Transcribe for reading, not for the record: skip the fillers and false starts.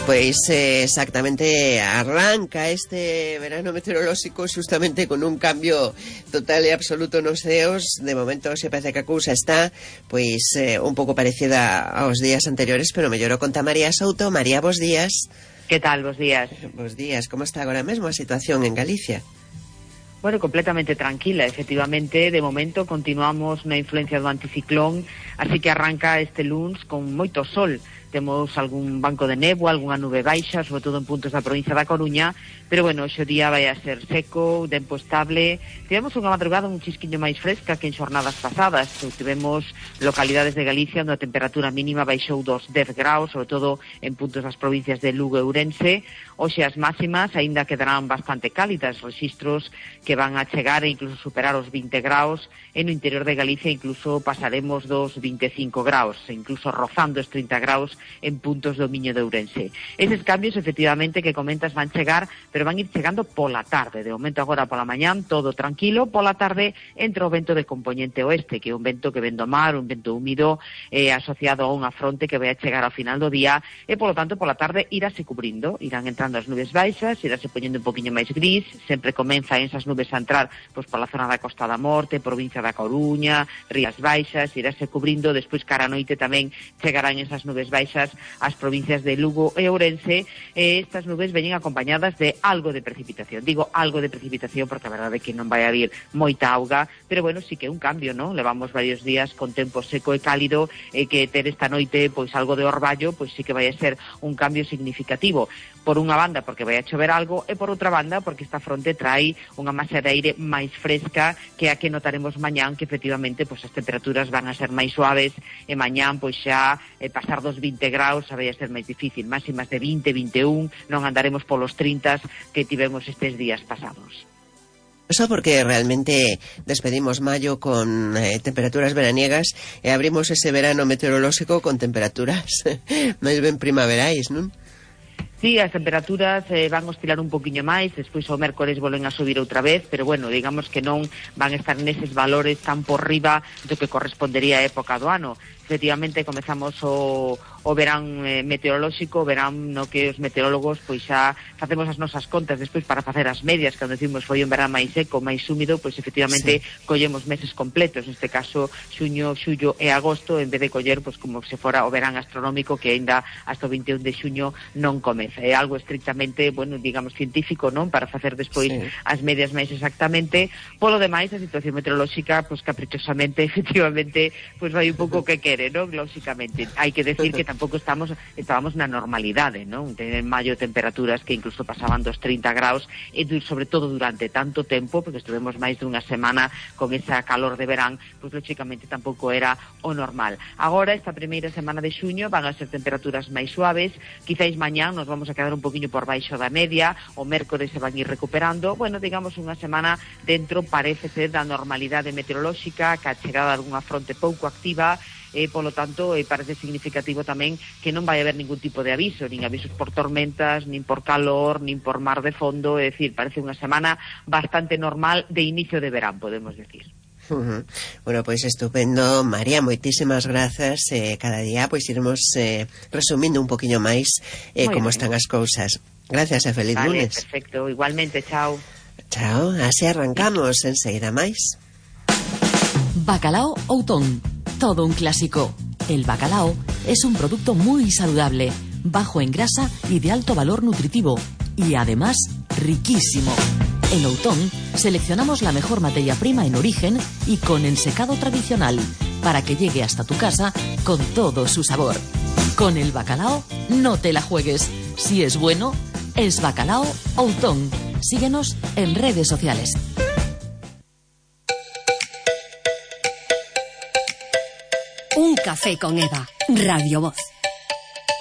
Pues exactamente, arranca este verano meteorolóxico justamente con un cambio total e absoluto nos ceos. De momento se parece que a cousa está pois un pouco parecida aos días anteriores, pero mellorou. Conta María Souto. María, bos días. Que tal, bos días? Bos días, como está agora mesmo a situación en Galicia? Bueno, completamente tranquila, efectivamente. De momento continuamos na influencia do anticiclón, así que arranca este luns con moito sol. Temos algún banco de néboa, algunha nube baixa, sobre todo en puntos da provincia da Coruña, pero bueno, hoxe o día vai a ser seco, tempo estable. Tivemos unha madrugada un chisquiño máis fresca que en xornadas pasadas. Tivemos localidades de Galicia onde a temperatura mínima baixou dos 10 graus, sobre todo en puntos das provincias de Lugo e Ourense. Hoxe as máximas aínda quedarán bastante cálidas, rexistros que van a chegar e incluso superar os 20 graus. En o interior de Galicia incluso pasaremos dos 25 graus, incluso rozando os 30 graus en puntos do Miño de Ourense. Eses cambios, efectivamente, que comentas van chegar, pero van ir chegando pola tarde. De momento agora pola mañán, todo tranquilo. Pola tarde entra o vento de componente oeste, que é un vento que ven do mar, un vento húmido, asociado a unha fronte que vai a chegar ao final do día, e polo tanto pola tarde irase cubrindo, irán entrando as nubes baixas, irase poñendo un poquinho máis gris, sempre comenzan esas nubes a entrar pois pola zona da Costa da Morte, provincia da Coruña, Rías Baixas, irase cubrindo, despois cara a noite tamén chegarán esas nubes baixas ás provincias de Lugo e Ourense. Estas nubes veñen acompañadas de algo de precipitación. Digo algo de precipitación porque a verdade é que non vai haber moita auga, pero bueno, sí que é un cambio, non? Levamos varios días con tempo seco e cálido, e que ter esta noite pois algo de orballo, pois sí que vai a ser un cambio significativo. Por unha banda porque vai a chover algo, e por outra banda porque esta fronte trai unha masa de aire máis fresca que a que notaremos mañán, que efectivamente pois as temperaturas van a ser máis suaves, e mañán pois xa pasar dos 20 graus xa vai a ser máis difícil, máximas de 20, 21, non andaremos polos 30 que tivemos estes días pasados. Eso porque realmente despedimos mayo con temperaturas veraniegas e abrimos ese verano meteorolóxico con temperaturas máis ben primaverais, non? Sí, as temperaturas van oscilar un poquinho máis, despois o mércores volven a subir outra vez, pero bueno, digamos que non van a estar neses valores tan por riba do que correspondería a época do ano. Efectivamente, comezamos o verán meteorolóxico, o verán no que os meteorólogos pois xa facemos as nosas contas despois para facer as medias, cando decimos foi un verán máis seco, máis húmido, pois efectivamente sí, collemos meses completos, neste caso xuño, xullo e agosto, en vez de coller pois como se fora o verán astronómico que aínda hasta o 21 de xuño non comeza. É algo estrictamente, bueno, digamos científico, non? Para facer despois sí, as medias máis exactamente. Polo demais, a situación meteorolóxica, pois caprichosamente, efectivamente, pois vai un pouco que quere, non? Lóxicamente, hai que decir que tampouco estábamos na normalidade, non? En maio temperaturas que incluso pasaban dos 30 graus, e sobre todo durante tanto tempo, porque estuvemos máis dunha semana con esa calor de verán, pois lóxicamente tampouco era o normal. Agora, esta primeira semana de xuño van a ser temperaturas máis suaves, quizáis mañán nos vamos a quedar un poquinho por baixo da media, o mércores se van ir recuperando, bueno, digamos unha semana dentro, parece ser, da normalidade meteorolóxica, que a chegada de algunha fronte pouco activa, e polo tanto parece significativo tamén que non vai haber ningún tipo de aviso, nin avisos por tormentas, nin por calor, nin por mar de fondo, é dicir, parece unha semana bastante normal de inicio de verán, podemos decir. Bueno, pois estupendo, María, moitísimas grazas. Cada día pois iremos resumindo un poquinho máis como están as cousas. Gracias e feliz lunes. Perfecto, igualmente, chao. Chao, así arrancamos enseguida máis. Bacalao Outón, todo un clásico. El bacalao es un producto muy saludable, bajo en grasa y de alto valor nutritivo, y además riquísimo. En Outón seleccionamos la mejor materia prima en origen y con ensecado tradicional, para que llegue hasta tu casa con todo su sabor. Con el bacalao no te la juegues. Si es bueno, es Bacalao Outón. Síguenos en redes sociales. Un café con Eva, Radio Voz.